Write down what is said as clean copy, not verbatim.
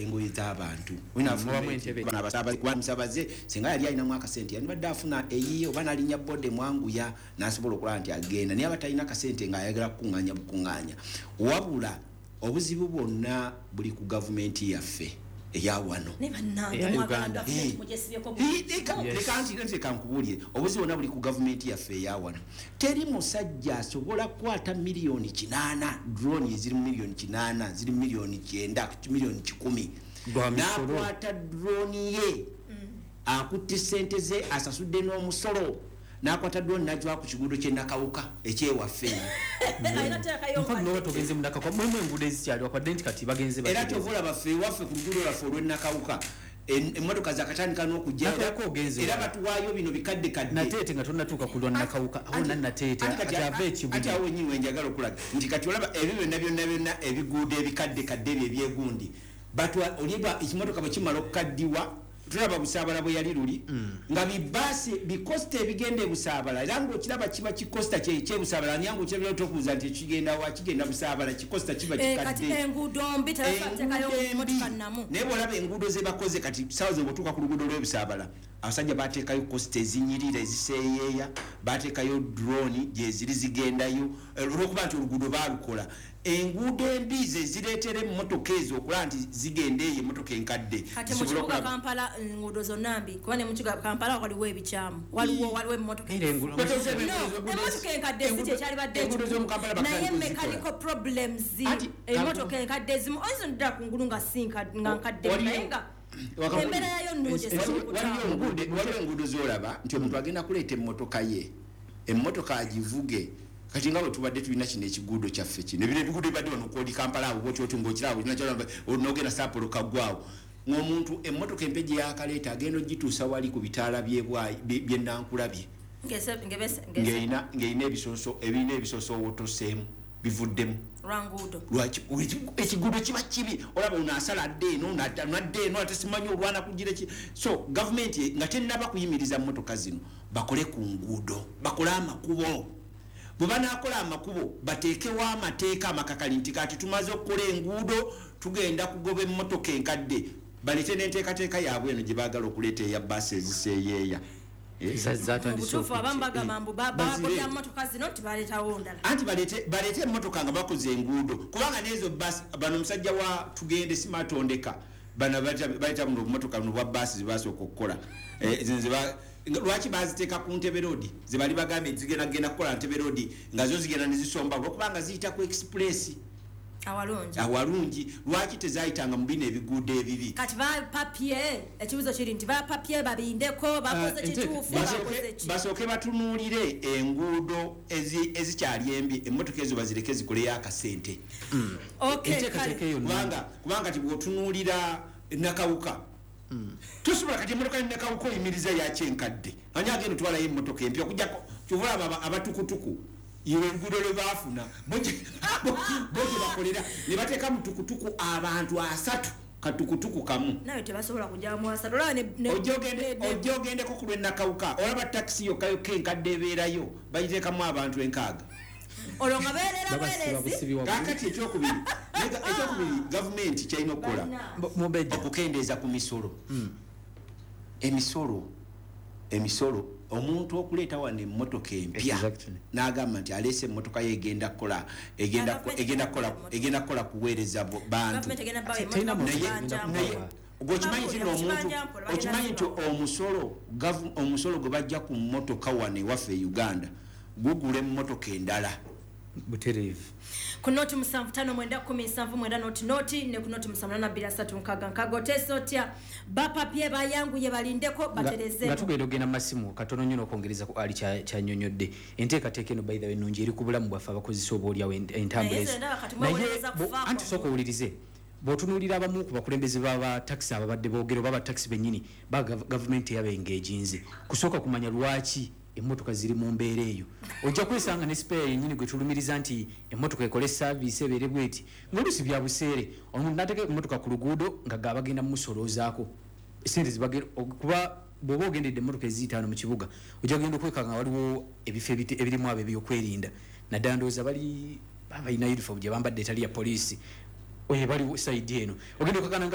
engoye z'abantu. Mubamu entebe. Musabaze singa yali alinamu akasente, yandibadde afuna eyiye oba nalinya boda emwanguya nasobola okulaba nti agenda, naye aba talina kasente ngaayagala kukuŋŋaanya bukuŋŋaanya. Wabula obuzibu bwonna buli ku gavumenti yaffe eya wano. Naye bannange, Eya mwagala Uganda. gavumenti mugyesibyeko buli kimu. Yes. Leka nti leka nkubuulire, obuzibu bwonna buli ku gavumenti yaffe eya wano. Teri musajja asobola kukwata 8 miliyoni, drone eziri mu miliyoni 8, ziri mu miliyoni 90, miliyoni 100. Gwa misolo. N'akwata drone ye, akutte sente ze, asasudde n'omusolo, n'akwata drone n'agiwa ku kiguudo ky'enakawuka ekyewaffe eno. Alina teekayo Infact, nkadde. noba togenze munakawuka, mulimu enguudo ezikyali wakwadde nti kati bagenze Era batereeza. kyova olaba ffe ewaffe ku luguudo lwaffe olw'enakawuka, emmotoka zakatandika n'okujja. Nakawuka ogenze Era wala. batuwaayo bino bikadde kadde. Nateete nga tonatuuka ku lwa Nakawuka awo Nateete Anti kati ati ava anti ekibuga. awo wenyini wenjagala okulaga nti kati olaba ebyo byonna byonna byonna, ebiguudo ebikadde kadde ebyo ebyegundi batwa oliba ekimotoka bwe kimala okukaddiwa, tulaba Busaabala bwe yali luli nga bibaasi bi Coaster ebigenda ebusaabala, era ngaokiraba kiba ki Coaster kyebusaabala, naye nga okirabira tokubuuza nti ekigenda wa, kigenda Busaabala, ki Coaster kiba Kati kikadde. enguudo mbi, tebateekayo Enguudo embi. motoka nnamu. Naye bwolaba enguudo zebakoze kati, sawa ze bwotuuka ku luguudo lw'ebusaabala, abasajja bateekayo Coaster ezinyirira eziseeyeeya, bateekayo drone gyeziri zigendayo. Olwokuba nti oluguudo baalukola, enguudo embi ze zireetera emmotoka ezo okulaba nti zigenda eyo, emmotoka enkadde Kati mu zisobole kibuga okulaba. Kampala enguudo zonna mbi? Kuba ne mu kibuga Kampala waliwo ebikyamu, waliwo emmotoka. Era No, emmotoka enkadde si kyekyalibadde Enguudo z'omu Kampala ekikulu, naye bakatandika okuzikola. mechanical problems. Emmotoka enkadde ezimu oyinza oddala ku ngulu nga si nga nkadde, naye nga embeera yayo nnungi, esobola Waliyo okutambula. Waliyo enguudo zolaba nti omuntu agenda kuleeta emmotoka ye, emmotoka agivuge. Kati nga bwe tubadde tulina kino ekiguudo kyaffe kino, ebino ebiguudo bibadde wano kwoli Kampala awo bwoti oti ngaokiraba nogenda Sapporo kaggwawo, ng'omuntu emmotoka empya gye yakaleeta agenda ogituusa wali ku bitaala byenankulabye ng'erina ebisooso, ebirina ebisooso owotoseemu bivuddemu. Lwanguudo. Lwaki ekiguudo kiba kibi? Olaba ono asala adde eno, nadda eno, ate simanyi olwana kugira ki. So gavumenti nga tenaba kuyimiriza mmotoka zino, bakole ku nguudo, bakole amakubo. Bwe banakola amakubo, bateekewo amateeka amakakali nti kati tumaze okukola enguudo, tugenda kugoba emmotoka enkadde. Baleete n'enteekateeka yaabwe eno gye baagala okuleeta eya baasi eziseeyeeya. Eh? Zatandise. Obutuufu abamu bagamba mbu Bazireete. bagobya motoka zino nti baleetawo ndala. Anti baleete emmotoka nga bakoze enguudo, kubanga nezo basi bano omusajja wa tugende simatondeka bano baleeta buno obumotoka buno bwa baasi zebasooka okukola. Zino lwaki baziteeka ku Ntebe Road? Zebali bagambye zigenda genda kukola Ntebe Road, nga zo zigenda nezisomba olwokubanga ziyita ku express. Awalungi. Awalungi. Lwaki tezayitanga mu bino ebiguudo ebibi? Kati bapapye, ekibuzo kiri nti bapapye, babindeko, bakoze kituufu, bakoze ki? Basooke batunuulire enguudo ezikyali embi, emmotoka ezo bazireke zikoleyo akasente. Okay, Enteekateeka kale. eyo nnungi. Kubanga ti bwotunuulira Nakawuka, tosobola kati emmotoka yenakawuka oyimiriza yakyenkadde, ani agenda otwalayo emmotoka empya? Okujjako kyova olaba abatukutuku iwe oluguudo lwe baafuna, bo gye bakolera ne bateeka mu tukutuku abantu 30 katukutuku kamu. Nawe tebasobola kujja asatu, olaba Ojja ogendeko ku lwenakawuka, olaba takisi yokka yokka enkadde ebeerayo bagiteekamu abantu 60. Olwo nga beerera Babasiba bwerezi. busibi waggulu. Kakati ekyokubiri gavumenti kyalina okukola, Banna. Mubejja. okukendeeza ku misolo, emisolo. Omuntu okuleeta wano emmotoka empya n'agamba nti aleese emmotoka ye, egenda kukola egenda kukola kuweereza bantu. Gavumenti egenda bawa Terina emmotoka muntu mu agenda kibanja. Naye kubawa. gweokimanyi nti Babuulira, omuntu kibanja mpola, bagenda okimanyi nti zibawa. omusolo gwe bajja ku mmotoka wano ewaffe e Uganda gugula emmotoka endala. Butereevu. Ku 075910790 ne ku 0782366, oteesa otya? Bapapye, bayanguye, balindeko, Nga batereze. tugenda okugenda mu masimu katono nnyo n'okwongereza ku ali kyanyonyodde, enteekateeka eno, by the way, ennungi eri ku bulamu bwaffe abakozesa oba oliawo entambula Naye ezo. nze ndaba kati Naye mwewolereza kufaako. Anti sooka owulirize, bw'otunuulira abamu ku bakulembeze b'abatakisi ababadde boogera oba abatakisi bennyini ba gavumenti eyabengeejinze kusooka kumanya lwaki emmotoka ziri mu mbeera eyo. Ojja kwesanga ne spare yennyini gwe tulumiriza nti emmotoka ekole service ebeere bweti, ng'oluusi bya buseere. Omuntu n'ateeka emmotoka ku luguudo nga gabagenda mumusolozaako sente zibagenda kuba bw'oba ogendedde emmotoka eziyitaano mu kibuga, ojja kugenda okwekanga nga waliwo ebifo ebirimu abo ebyokwerinda, naddala ndowooza bali balina uniform gye bambadde etali ya poliisi, oyo bali side eno ogenda okakana nga